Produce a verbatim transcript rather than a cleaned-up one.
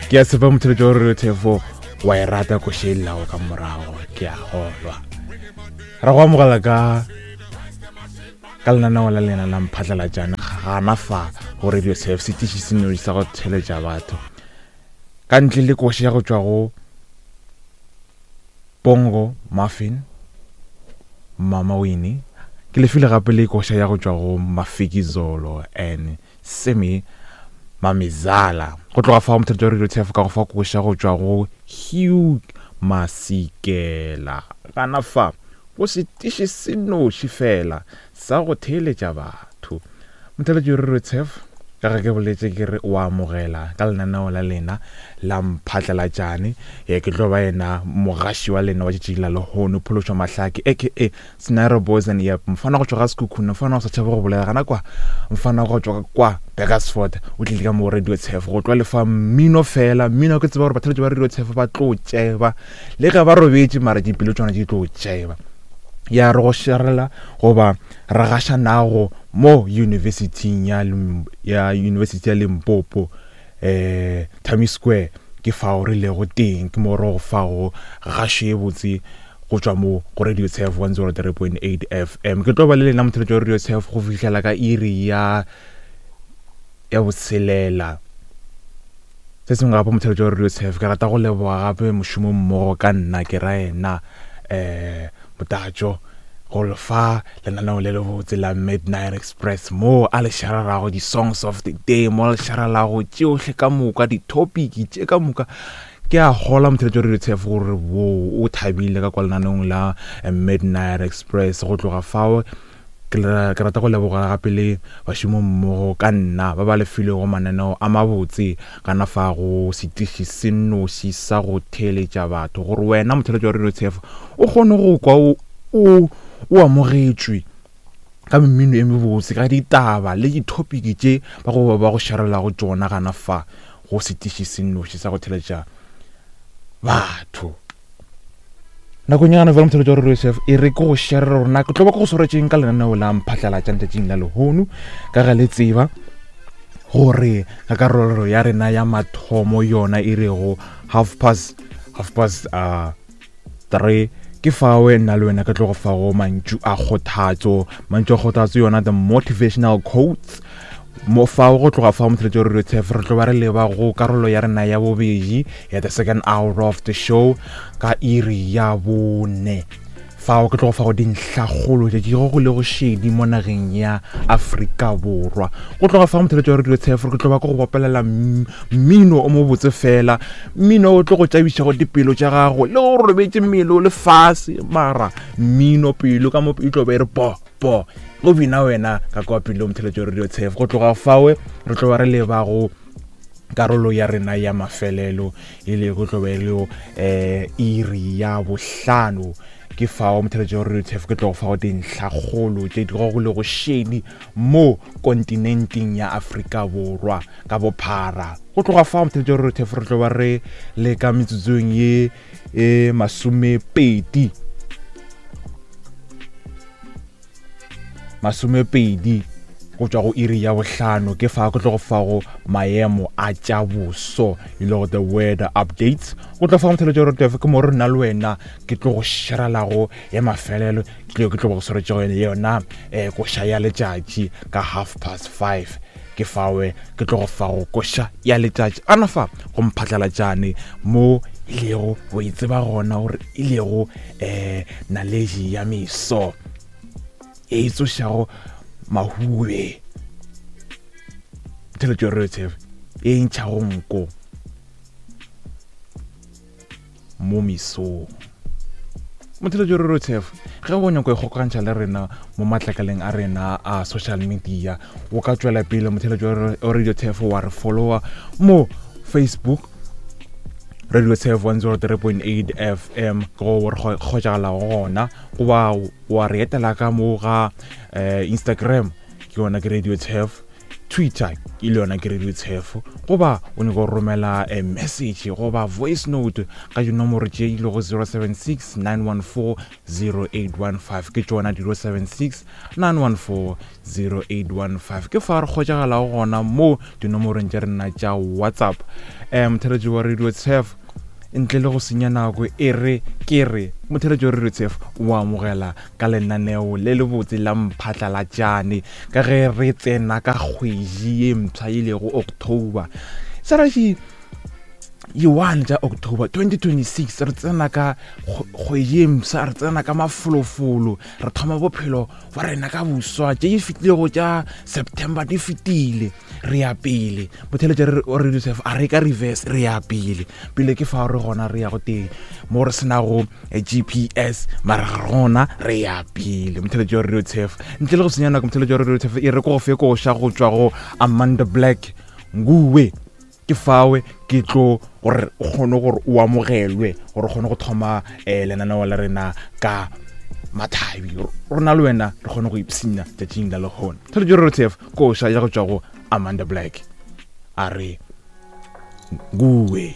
Ke a tshepa motheletši wa Radio Tefo wa e rata koša e llago ka morago, ke a kgolwa. Ra go amogela ka ka lenaneo la lena la Mphatlalatšane gana fa go Radio Tefo, setiši se nnoši sa go theletša batho. Ka ntle le koša ya go tšwa go Bongo Muffin, Mama Winnie, ke lefile gape le koša ya go tšwa go Mafikizolo and Semi Mamizala. Go tloga fao motheletši wa Radio Tefo ka go fa koša go tšwa go Hugh Masikela. Gana fa go setiši se nnoši fela sa go theeletša batho. Motheletši wa Radio Tefo, ka ge ke boletše ke re o amogela ka lenaneo la lena la Mphatlalatšane. Ye ke tlo ba yena mogaši wa lena wa tšatši la lehono, Phološwa Mahlake aka Scenario Boys and Yep, mfana go tšwa ga Sekhukhune, mfana go sa tšhabe go bolela gana kwa, mfana go tšwa kwa Burgersfort, o tlile ka mo Radio Tefo go tlo lefa mmino fela. Mmino ke tseba gore batheletši ba Radio Tefo ba tlo tšeba le ge ba robetše, mara dipelo tšona di tlo tšeba. Ya re go šarela goba re gaša nago mo universityng ya ya University ya Limpopo, eh Tami Square, ke fao re lego teng, ke mo re go fago gašo ye botse go tšwa mo go Radio Tefo one zero three point eight F M. Ke tlo ba le lena motheletši wa Radio Tefo go fihlela ka iri ya ya botshelela. Se sengwe gape motheletši wa Radio Tefo, ke rata go leboga gape mošomo mmogo ka nna, ke ra yena eh Motatšo go lefa lenaneo le lebotse la Midnight Express, mo a le šarelago di-songs of the day, mo a le šarelago tšohle ka moka, di-topic tše ka moka. Ke a gola motheletši wa Radio Tefo gore wo o thabile ka kwa lenaneong la Midnight Express. Go tloga fao ke ke rata go leboga gape le bašomo mmogo ka nna ba ba lefilego mananeo a mabotse kana fa go setiši se nnoši sa go theeletša batho, gore wena motheletši wa Radio Tefo o kgone go kwa o o o amogetšwe ka mmino e mebotse, ka ditaba le di-topic tše ba go ba go šarelago tšona gana fa go setiši se nnoši sa go theeletša batho. Nakong ya gana bjale motheletši wa Radio Tefo, e re ke go sharela gore na ke tlo ba ke go swaretšeng ka lenaneo la Mphatlalatšane tšatšing la lehono, ka ge le tseba gore ka karolo ya rena ya mathomo yona e rego half past, half past, uh, three, ke fawe nna le wena ke tlo go fago mantšu a kgothatso, mantšu a kgothatso yona the motivational quotes. Mo fao go tloga fao motheletši wa Radio Tefo re tlo ba re leba go karolo ya rena ya bobedi ya the second hour of the show ka iri ya bone. Fao ke tlo go fa go dintlhakgolo tše di go le go šedi mo nageng ya Afrika Borwa. Go tloga fao motheletši wa Radio Tefo ke tlo ba ke go bopelela mmino o mobotse fela, mmino o tlo go tšabišago dipelo tša gago le go robetše mmele o le fase, mara mmino pelo ka mo e tlo ba e re po po go bina wena ka kwa pelo motheletši wa Radio Tefo. Go tloga fao re tlo ba re leba go karolo ya rena ya mafelelo e le go tlo ba e le eh iri ya bohlano. Ke fao motheletši wa Radio Tefo ke tlo go fa go dintlhakgolo tše di go le go šedi mo kontinenteng ya Afrika Borwa ka bophara. Go tloga fao motheletši wa Radio Tefo re tlo ba re le ka metsotsong ye e masomepedi, masomepedi go tšwa go iri ya bohlano. Ke fa ke tlo go fa go maemo a tša boso e le go the weather updates. Go tlo fa motheletši wa Radio Tefo ke mo re nna le wena ke tlo go šerelago ya mafelelo, ke tlo ke tlo go swaretšego yona eh koša ya letšatši ka half past five. Ke fawe ke tlo go fa go koša ya letšatši ana fa go Mphatlalatšane mo e lego o e tseba gona gore e lego eh naledi ya meso e tsošago mahube, motheletši wa Radio Tefo e ntšhago nko mo mesong. Motheletši wa Radio Tefo, ge o nyaka go ikgokagantšha le rena mo matlakaleng a rena a social media, o ka tšwela pele motheletši wa Radio Tefo wa re follower mo Facebook Radio Tefo one zero three point eight F M, go re kgotšagalago gona, goba wa re etela ka mo ga eh Instagram, ke yona ke Radio Tefo Twitter e le yona ke Radio Tshefo, goba o nyaka go romela a message goba voice note ka dinomoro tše e lego zero seven six nine one four zero eight one five. Ke tšona zero seven six nine one four zero eight one five. Ke fa re kgotšagalago gona mo dinomorong tša rena tša WhatsApp. Um motheletši wa Radio Tshefo, ntle le go senya nako, e re ke re motheletši wa Radio Tshefo o amogela ka lenaneo le lebotse la Mphatlalatšane ka ge re tsena ka kgwedi ye mpsha e lego October. Saraši one tša October twenty twenty-six, re tsena ka kgwedi ye mpsha, re tsena ka mafolofolo, re thoma bophelo ba rena ka boswa. Tše di fetilego tša September di fetile, re ya pele. Motheletši wa Radio Tshefo, a re ka reverse, re ya pele. Pele ke fa re gona re ya go teng mo re senago G P S, mara gona re ya pele. Motheletši wa Radio Tshefo, ntle le go senya nako, motheletši wa Radio Tshefo, e re ko go fe koša go tšwa go Amanda Black Nguwe. Ke fawe ke tlo gore o kgone gore o amogelwe, gore o kgone go thoma eh lenaneo la rena ka mathabi. Rona le wena re kgone go ipshina tšatšing la lehono. Motheletši wa Radio Tshefo, koša ya go tšwa go Amanda Black, a re Nguwe.